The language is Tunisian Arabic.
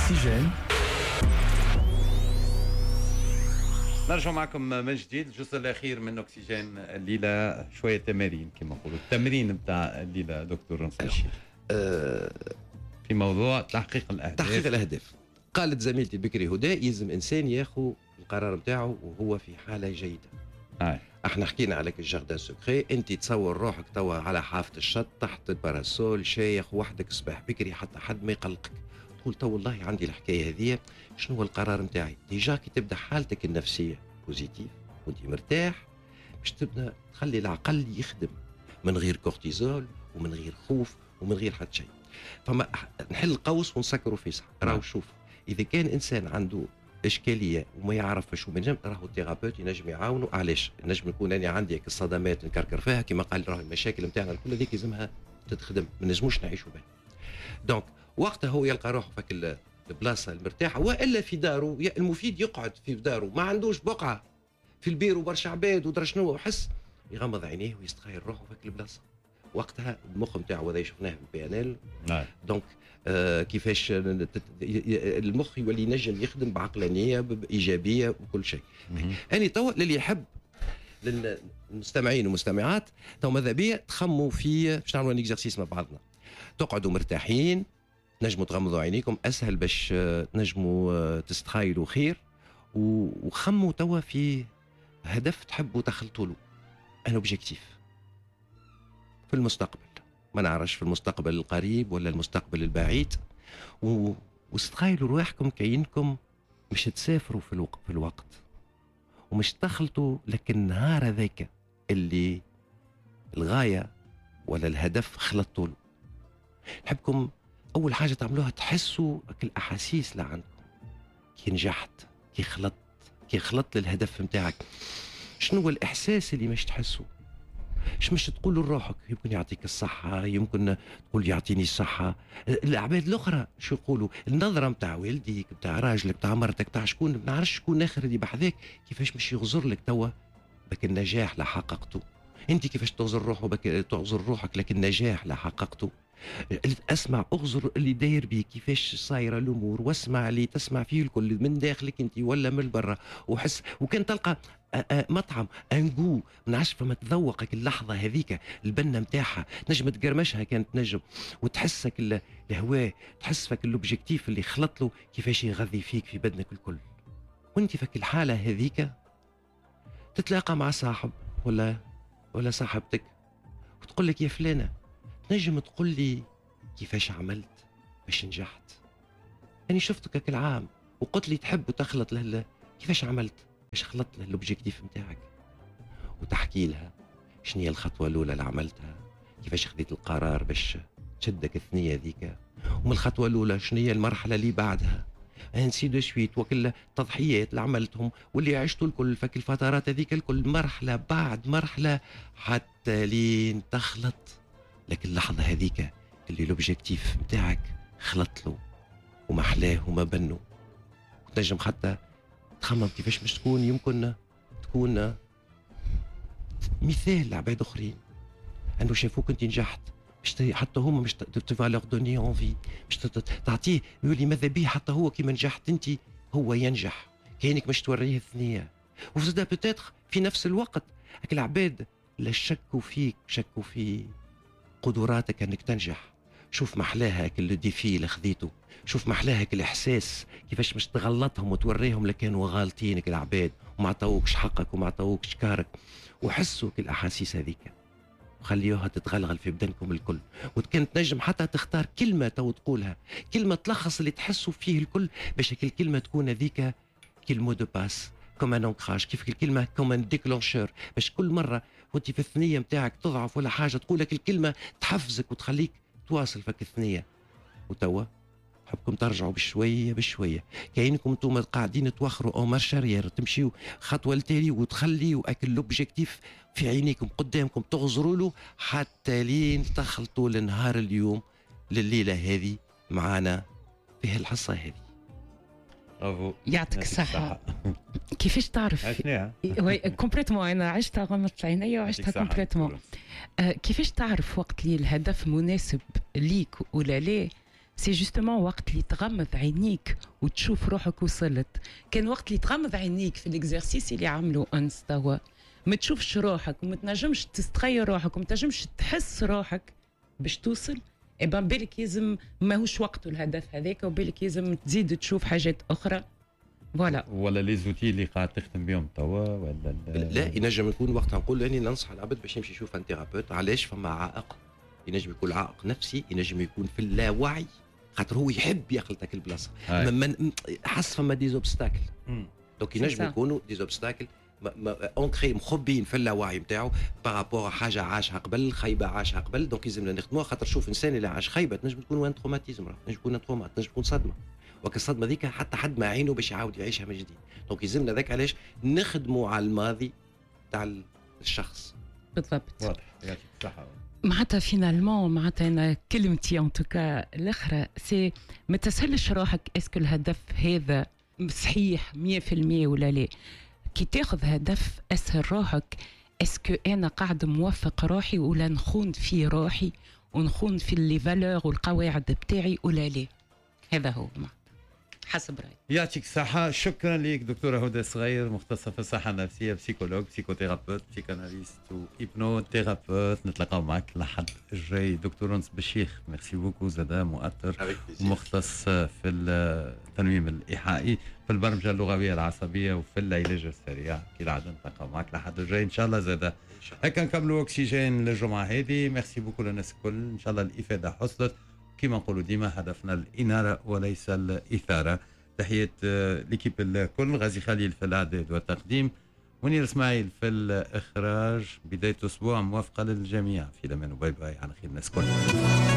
اكسجين. نرجع معكم من جديد، الجزء الاخير من اكسجين الليله، شوية تمارين كما نقولوا، التمرين نتاع الليلة دكتور نصر في موضوع تحقيق الاهداف. تحقيق الاهداف. قالت زميلتي بكري هدى يلزم انسان ياخذ القرار نتاعو وهو في حاله جيدة. احنا حكينا على ال jardin secret، انت تصور روحك توا على حافة الشط تحت ال parasol شايخ وحدك صباح بكري حتى حد ما يقلقك، تقول تو والله عندي الحكاية هذه، شنو هو القرار نتاعي؟ déjà كي تبدا حالتك النفسية positive وانت مرتاح باش تبدا تخلي العقل يخدم من غير كورتيزول ومن غير خوف ومن غير حتى شيء. فما نحل قوس ونسكروا فيه صح. راهو شوف، اذا كان انسان عنده اشكالية وما يعرفش وما ينجم، راهو ال thérapeute ينجم يعاونه. علاش؟ نجم نكون انا عندي الصدمات نكركر فيها كما قال، راهو المشاكل نتاعنا الكل هذيك لازمها تتخدم، ما نجموش نعيشوا بها. donc وقتها هو يلقى روحه فك البلاصة المرتاحه والا في داره، المفيد يقعد في داره، ما عندوش بقعة في البيرو برشا عباد ودرا شنو، وحس يغمض عينيه ويستخيل روحه فك البلاصة. وقتها المخ نتاعو هذا شفناه في ال PNL. donc كيفاش المخ يولي ينجم يخدم بعقلانيه بايجابية وكل شيء. انا توا للي يحب، للمستمعين والمستمعات، تو ماذا بيا تخموا في باش نعملوا un exercice مع بعضنا. تقعدوا مرتاحين، تنجموا تغمضوا عينيكم اسهل باش تنجموا تستخيلوا خير، وخموا توا في هدف تحبوا تخلطوا له، un objectif في المستقبل، ما نعرفش في المستقبل القريب ولا المستقبل البعيد، واستخيلوا رواحكم كأنكم مش تسافروا في الوقت ومش تخلطوا، لكن النهار هذاك اللي الغاية ولا الهدف خلطوا له. نحبكم أول حاجة تعملوها تحسوا الأحاسيس اللي عندكم كي نجحت، كي خلطت، كي خلطت للهدف نتاعك. شنو هو الإحساس اللي مش تحسه؟ اش مش تقول لروحك؟ يمكن يعطيك الصحة، يمكن تقول يعطيني الصحة. العباد الأخرى شو يقولوا؟ النظرة نتاع والديك، نتاع راجلك، نتاع مرتك، نتاع شكون، ما نعرفش شكون آخر اللي بحذاك، كيفاش مش يغزر لك توا بك النجاح لا حققته. أنت كيفاش تغزر روحك تغزر روحك لكن النجاح لا حققته. اسمع، اغزر اللي داير بيك كيفاش صايرة الامور، واسمع اللي تسمع فيه الكل من داخلك انت ولا من برا، وحس. وكان تلقى مطعم un goût ما نعرفش، فما تذوقك اللحظة هذيك البنه نتاعها، تنجم تقرمشها كانت تنجم، وتحسك الهواء، تحس فك l'objectif اللي خلط له كيفاش يغذي فيك في بدنك الكل. وانت فك الحالة هذيك تتلاقى مع صاحب ولا صاحبتك وتقول لك يا فلانه تنجم تقول لي كيفاش عملت باش نجحت؟ أنا شفتك العام وقلت لي تحب وتخلط له، كيفاش عملت باش خلطت له l'objectif نتاعك؟ وتحكي لها شنو هي الخطوة الأولى اللي عملتها، كيفاش خذيت القرار باش تشدك الثنية ذيك، ومن الخطوة الأولى شنو هي المرحلة اللي بعدها، ainsi de suite، وكل التضحيات اللي عملتهم واللي عشتوا الكل فك الفترات هذيك الكل، مرحلة بعد مرحلة حتى لين تخلط لكن اللحظة هذيك اللي l'objectif نتاعك خلط له ومحلاه وما بنو. وتنجم حتى تخمم كيفاش مش تكون، يمكن تكون مثال لعباد اخرين انه شافوك انت نجحت، مش حتى هما مش tu vas leur donner envie، مش تعطيه يولي ماذا بيه حتى هو كيما نجحت انت هو ينجح، كانك مش توريه الثنية. وزاد peut-être في نفس الوقت هاك العباد لا شكوا فيك، شكوا في قدراتك انك تنجح. شوف محلاها كل défi اللي خذيته، شوف محلاها الاحساس كيفاش مش تغلطهم وتوريهم لكانوا غالطينك العباد وما عطاوكش حقك وما عطاوكش كارك، وحسوا كل الاحاسيس هذيك وخليوها تتغلغل في بدنكم الكل. وكان تنجم حتى تختار كلمة تو تقولها، كلمة تلخص اللي تحسوا فيه الكل، باش الكلمة تكون هذيك كل mot de passe comme un ancrage، كيف الكلمة comme un déclencheur، باش كل مرة وانت في الثنية نتاعك تضعف ولا حاجة تقول لك الكلمة تحفزك وتخليك تواصل فك الثنية. وتوا حبكم ترجعوا بشوية بشوية، كاينكم انتم قاعدين توخروا en marche arrière، تمشيو خطوة لتالي وتخليوا اكل l'objectif في عينيكم قدامكم تغزروا له حتى لين تخلطوا لنهار اليوم لليلة هذه معانا في هالحصة هذه. برافو، يعطيك الصحة. كيفاش تعرف؟ عشناها complètement، انا عشتها غمضت عينيا وعشتها complètement. كيفاش تعرف وقت اللي الهدف مناسب ليك ولا لا؟ c'est justement وقت اللي تغمض عينيك وتشوف روحك وصلت. كان وقت اللي تغمض عينيك في l'exercice اللي عملوا انس توا، ما تشوفش روحك وما تنجمش تستخيل روحك وما تنجمش تحس روحك باش توصل، eh ben بالك يلزم ماهوش وقته الهدف هذاك، وبالك يلزم تزيد تشوف حاجات اخرى. voilà. ولا les outils اللي قاعد تخدم بهم توا ولا؟ لا، ينجم يكون وقتها نقول اني ننصح العبد باش يمشي يشوف un thérapeute. علاش؟ فما عائق، ينجم يكون عائق نفسي، ينجم يكون في اللاوعي، خاطر هو يحب يخلط البلاصه، من حس فما des obstacles. donc ينجم يكونوا des obstacles ancrés، مخبيين في اللاوعي نتاعو par rapport حاجة عاشها قبل، خيبه عاشها قبل. donc يلزمنا نخدموها، خاطر شوف، انسان اللي عاش خيبه تنجم تكون un traumatisme، تنجم تكون trauma، تنجم تكون صدمه، وك الصدمة ذيك حتى حد ما عينه باش يعاود يعيشها من جديد. donc يلزمنا ذاك علاش نخدموا على الماضي تاع الشخص. بالضبط. واضح، يعطيك الصحه. معناتها finalement، معناتها انا كلمتي en tout cas الاخرى c'est ما تسهلش روحك est-ce que الهدف هذا صحيح 100% ولا لا. كي تاخذ هدف اسهل روحك est-ce que انا قاعد موفق روحي ولا نخون في روحي ونخون في les valeurs والقواعد بتاعي ولا لا. هذا هو معناتها حسب رايي. يعطيك الصحة، شكرا لك دكتورة هدى صغير، مختصة في الصحة النفسية، psychologue، psychothérapeute، psychanalyste و hypnothérapeute. نتلاقاو معك لحد الجاي. دكتور انس بالشيخ، merci beaucoup زادا، مؤطر مختص في التنويم الإيحائي، في البرمجة اللغوية العصبية وفي العلاج السريع. كالعادة نتلاقاو معك لحد الجاي إن شاء الله زادا. هكا نكملوا أكسجين للجمعة هذه. merci beaucoup للناس الكل، إن شاء الله الإفادة حصلت. كما نقولوا ديما، هدفنا الإنارة وليس الإثارة. تحية l'équipe الكل، غازي خليل في الإعداد والتقديم، منير إسماعيل في الإخراج. بداية أسبوع موفقة للجميع، في الأمان و bye bye، على خير الناس الكل.